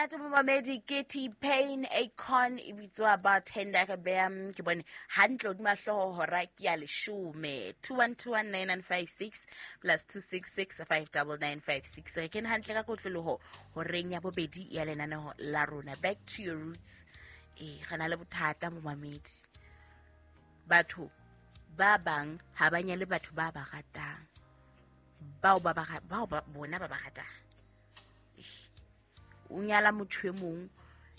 Monate momamedi ke T-Pain Akon e bitswa bartender re beya ke bone hantle hodima hlooho hora ke ya leshome. 21219956 plus 266 59956. Re kene hantle ka kotloloho horeng ya bobedi ya lenaneho la rona, Back to Your Roots. Ee, re na le bothata, momamedi. Batho ba bang ha ba nyale batho ba ba ratang, bao ba ba bao ba bona ba ba ratang. O nyala motho e mong,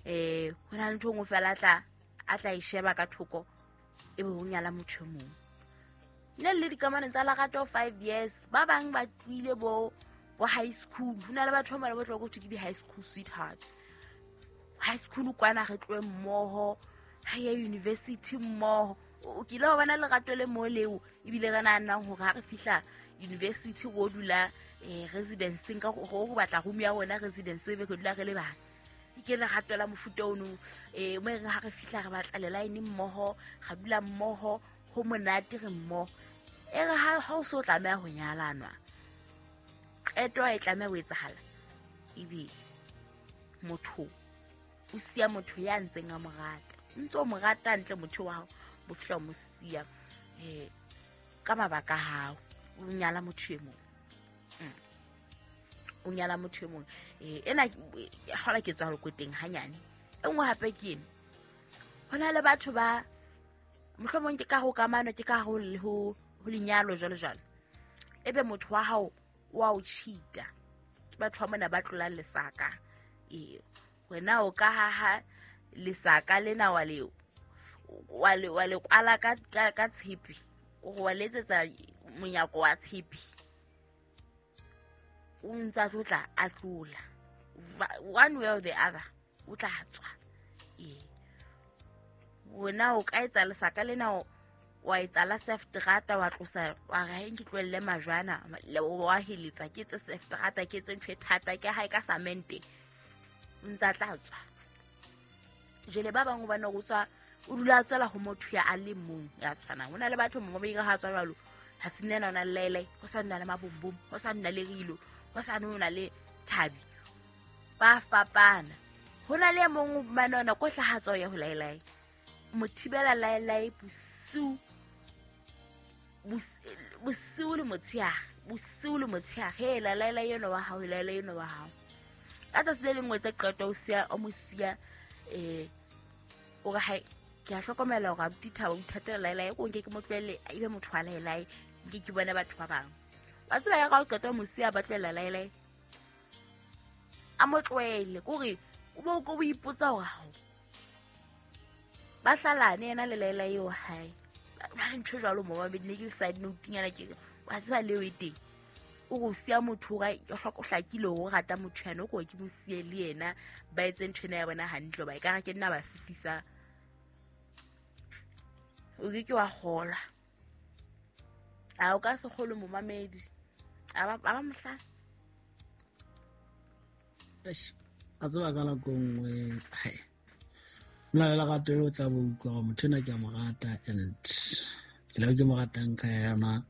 ho na le ntho e nngwe fela a tla e sheba ka thoko, ebe o nyala motho e mong. Nne le dikamano tsa lerato 5 years, ba bang ba tlohile bo high school. Ho na le batho ba mane ba tloha ko thwe ke di-high school sweetheart. High school kwana re tlohe mmoho, re ye university mmoho. O kile wa bona lerato le mo leo? Ebile re nahanang hore ha re fihla university go dula residenceng ka go batla room ya rona residence, ebe re dula re le bang. Ke lerato la mofuta ono mo e reng ha re fihla re batla le-line mmoho, re dula mmoho, ho monate, re mmoho. E re ha o so tlameha ho nyalanwa, qeto e tlameha ho etsahala, ebe motho o siya motho ya ntseng a mo rata. O ntse o mo rata ntle motho wa hao, bo fihla o mo siya ka mabaka a hao, o nyala motho e mong. O nyala motho e mong. Ena kgola ke tswa lekoteng hanyane. E nngwe hape ke eno, ho na le batho ba mohlomong ke ka ho kamano, ke ka ho lenyalo jwalo jwalo, ebe motho wa hao wa o cheata. Ke batho ba mona ba tlolang lesaka. Ee, wena o ka haha lesaka lena, wa le kwala ka tshepe, o wa le etsetsa monyako wa tshepe, o ntsa tlo tla a tlola one way or the other, o tla tswa. Ee, wena o ka etsa lesaka lena, wa etsa la sefterata, wa tlosa, wa re ha ke tlohelle majwana, wa heletsa, ke etse sefterata, ke etse ntho e thata, ke hae ka samente, o ntsa tla tswa. Jele ba bangwe bana o tswa, o dula a tswela ho motho ya a le mong ya tshwanang. Ho na le batho mo ba ha tswa jwalo, ha se nna ona le laelai, ho sa nna le mabombom, ho sa nna le rilo, ho sa nna le thabi, ba fapana. Ho na le e mong mane ona ko hlaha tswa ya ho laelai, mo thibela laelai bosiu, bosiu le motshehare, bosiu le motshehare. Hela, laela eno wa hao, laela eno wa hao. Ka tsatsi le lengwe tse qeto o siya, o mo siya. O re hai, ke a hlokomela hore abuti Thabo o ithatela laelae, ko nke ke mo tlohelle ebe motho wa laelae, nke ke bone batho ba bang. Wa tseba ya ka o qeta o mo siya, ba tlohela laelae, a mo tlohele kore o bo o ipotsa hore hao ba hlalane yena le laela eo hae na le ntho e jwalo. Mo babedi ne ke le side note-nyana, ke re wa tseba leo e teng, o re o siya motho o hlakile hore o rata motho yana, o ko ke mo siye le yena, ba etse ntho ena ya bona hantle, ba ekare ke nna ba sitisang. O ke ke wa kgolwa, a o ka se kgolwe, momamedi, a ba mohlala. Eish, a tseba ka nako nngwe hai, mona le lerato le o tla bo utlwa gore motho ena ke a mo rata, and tsela eo ke mo ratang ka yona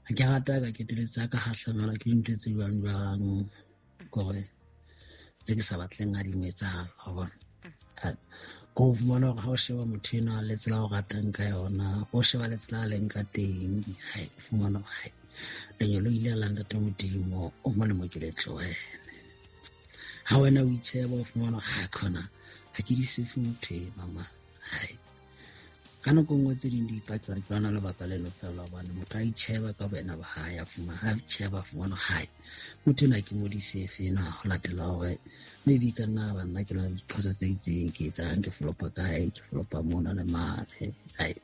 ha ke rata ka keteletse a ka gahlamelwa ke dintho tse jwang jwang, kore tse ke sa batleng a di mo etsahala wa bona. Ko o fumana gore ha o sheba motho enwa le tsela o ratang ka yona, o sheba le tsela a leng ka teng, hai, o fumana gore hai, lenyalo ile la ntate Modimo o molemo ke le tlohele. Ha wena o itjheba, o fumana ha khona ha ke di sefe motho e mama. Hai, ka nako nngwe tse ding di ipakela ke lona lebaka leno fela, hobane motho a itjheba ka boena ba hae, a fumana ha itjheba, a fumana hae motho ena ke mo disefe ena, ho latela hore maybe ka nna ba nna ke na le diphoso tse itseng ke etsang, ke flopa kae, ke flopa mona le mane. Hai,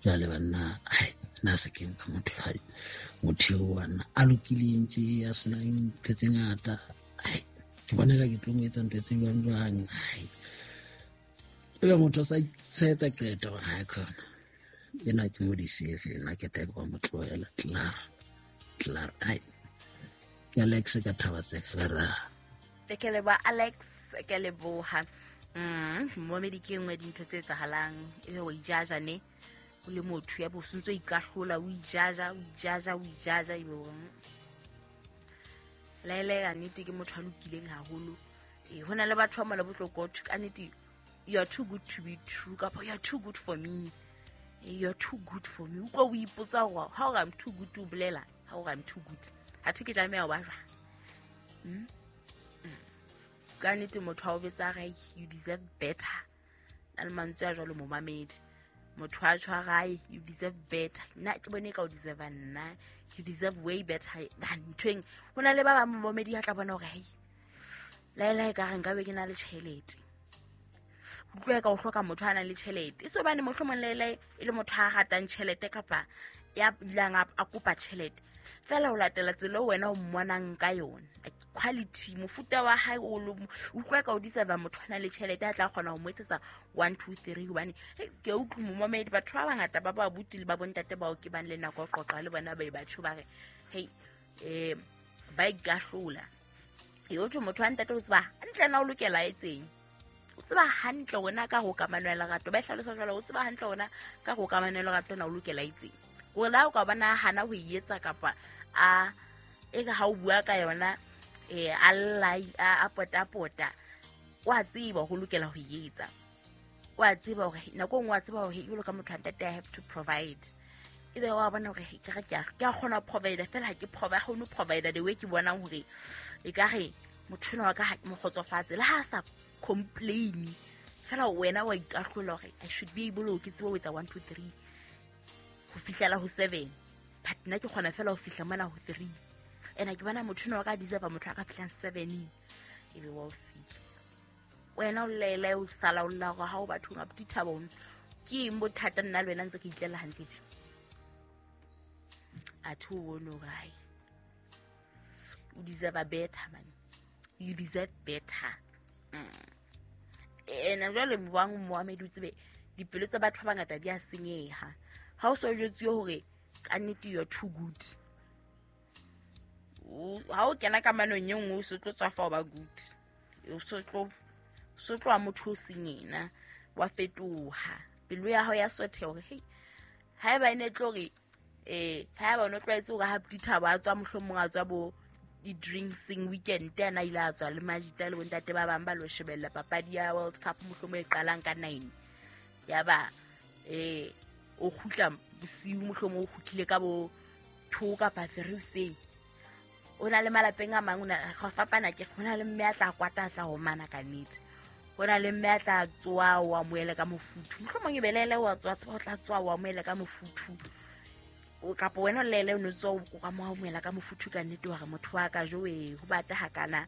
jwale banna, hai, nna se ke nka motho, hai, motho eo banna a lokileng tje, a senang ntho tse ngata, hai, ke bona ka ke tlo mo etsa ntho tse jwang jwang. Hai, ebe motho a sa etsa qeto gore ha khona ena ke mo disefe ena, ke type wa mo tlohela klaar klaar. Ai, ke Alex ka thaba tseka ka ra. Ke leboha, Alex, ke leboha. Momamedi, ke nngwe dintho tse etsahalang, ebe wa ijaja ne o le motho ya bo o sentse o ikahlola, o ijaja, o ijaja, o ijaja, ebe o laele. Ka nnete ke motho a lokileng haholo. Ee, ho na le batho ba mola botlokotho ka nnete, you are too good to be true, kapa you are too good for me. You are too good for me. Utlwa o ipotsa gore ha ore I'm too good, o bolela ha ore I'm too good, athe ke tlameha ho ba jwang? Ka nnete motho a o betsa gae, you deserve better. Na le mantswe a jwalo momamedi, motho a tshwarae, you deserve better. Nna ke bone ka o deserve, nna you deserve way better than nthweng. Ho na le ba bang momamedi a tla bona hore hei, laelae ka re nkabe ke na le tjhelete. Utlwa ka o hloka motho a nang le tjhelete, e se hobane mohlomong laelae e le motho a ratang tjhelete kapa ya dulang a kopa tjhelete fela, ho latela tsela eo wena o mmonang ka yona, quality mofuta wa hae o utlwa ka o deserve motho a nang le tjhelete a tla kgona ho mo etsetsa 1 2 3. Hobane ke a utlwa momamedi, batho ba bangata ba ba buti le ba bontate bao ke bang le nako ya qoqa le bona, ba e batho ba re hei, ba ikahlola. E o thwe motho wa ntate o tseba hantle na o lokela etseng, o tseba hantle wena ka ho kamano ya lerato, ba e hlalosa jwalo, o tseba hantle wena ka ho kamano ya lerato na o lokela etseng, hore la o ka bona hana ho e etsa kapa a e ka ha o bua ka yona, a lla a potapota, wa tseba ho lokela ho e etsa, wa tseba hore nako e nngwe wa tseba hore jwalo ka motho wa ntate I have to provide. Ebe wa bona hore ke re ke a kgona ho provide fela, ha ke provide, kgone ho provide the way ke bonang hore e ka re motho enwa wa ka ha ke mo kgotsofatse, le ha a sa complain fela wena wa ikahlola hore I should be able ke tsebe ho etsa 1 2 3 ho fihlela ho 7, but nna ke kgona fela ho fihla mona ho 3, ena ke bona motho enwa wa ka deserve motho a ka fihlang 7, ebe wa o sika wena o lele o sala o lla hore ha o bathong a dithabo ntse ke eng bothata, nna le wena ntse ke itlela hantle tje. Athe o bone hore hai, o deserve better man, you deserve better. Ena jwale bang moamedi o tsebe dipelo tsa batho ba bangata di a senyeha ha o so jwetsuwe hore ka nnete you are too good. Ha o kena kamanong e nngwe o so tlo tswafa ho ba good, o so tlo motho o seng yena, wa fetoha pelo ya hao ya sotheha hore hei, haeba e ne tlo re haeba o no tlwaetse hore ha dithabo a tswa mohlomong a tswa bo di-drinksing weekend, ana ile a tswa le majita le bontate ba bang ba lo shebella papadi ya World Cup mohlomong e qalang ka 9, yaba o kgutla bosiu mohlomong o kgutlile ka bo 2 kapa 3 hoseng. O na le malapeng a mang, o na go fapana ke ho na le mme a tla kwata a tla homana ka nnete, ho na le mme a tla tsoa o amohele ka mofuthu, mohlomong e belele wa tswa tseba o tla tsoa o amohele ka mofuthu, kapa wena o lele o no tswa o amohela ka mofuthu ka nnete, wa re motho wa ka jowe ho bata hakana,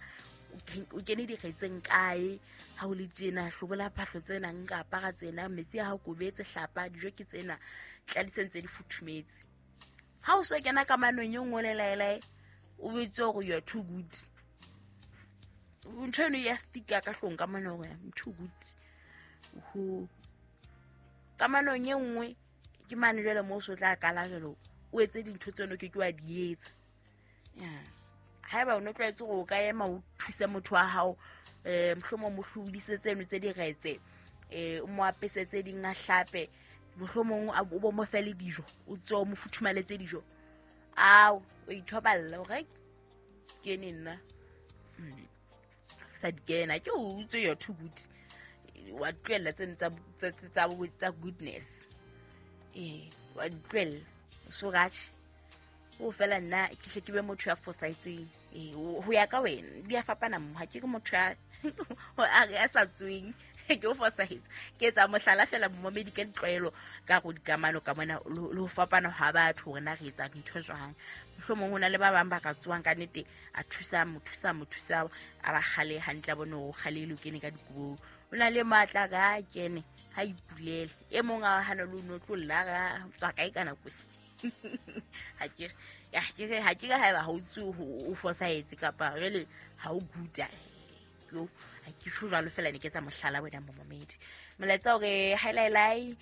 o kene dikgetseng kae ha o le tjena, hlobola phahlo tsena, nka apara tsena, metsi a hao kobetse, hlapa, dijo ke tsena, tladiseng tse di futhumetse. Ha o so kena kamanong e nngwe le laelae, o botse hore you are too good, ntho eno ya stika ka hlong ka mona hore I'm too good. Ho kamanong e nngwe ke mane jwale moo o so tla kala jwalo o etse dintho tseno ke ke wa di etsa. Haeba o no tlwaetse hore o ka ema o thuse motho wa hao, mohlomong mo hlodise tseno tse diretse, o mo apesetse ding a hlape, mohlomong o bo mo fe le dijo, o tswe o mo futhumaletse dijo, ao o ithoballa hore ke ne nna sa di kena, ke o utswe you're too good, wa tlohella tseno tsa goodness, wa di tlohella so ratjhe o fela nna ke hle ke be motho ya fosahetseng. Ho ya ka wena di a fapana mo, ha ke re motho ya sa tsweng ke o fosahetse, ke etsa mohlala fela momamedi ka ditlwaelo ka go dikamano ka mona le ho fapana ha batho hore na re etsa dintho jwang. Mohlomong ho na le ba bang ba ka tsoang ka nnete a thusa mo thusa mo thusa a ba kgale hantle, a bone hore o kgale o kene ka dikobong, o na le matla ka kene ha ipulele, e mong a hana le o no tlo lla ka tswa kae ka nako ha ke re haeba ha o tswe o fosahetse kapa jwale ha o good, yo ha ke tjho jwalo fela, ne ke etsa mohlala wena momamedi. Molaetsa hore highlight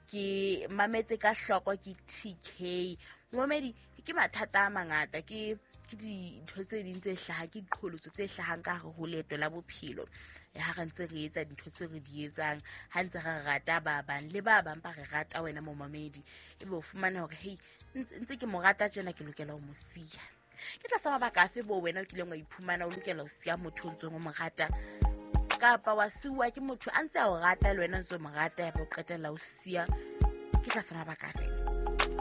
ke mametse ka hloko ke TK momamedi, ke mathata a mangata, ke dintho tse ding tse hlahang, ke diqholotso tse hlahang ka hare ho leeto la bophelo. Ha re ntse re etsa dintho tse re di etsang, ha ntse re rata ba bang le ba bang ba re rata wena momamedi, ebe o fumana hore hei ntse ke mo rata tjena, ke lokela ho mo siya. Ke tlasa mabaka afe bo wena o kileng wa iphumana o lokela ho siya motho o ntseng o mo rata, kapa wa siuwa ke motho a ntse a o rata le wena o ntse o mo rata, ya ba o qetella o siya? Ke tlasa mabaka afe?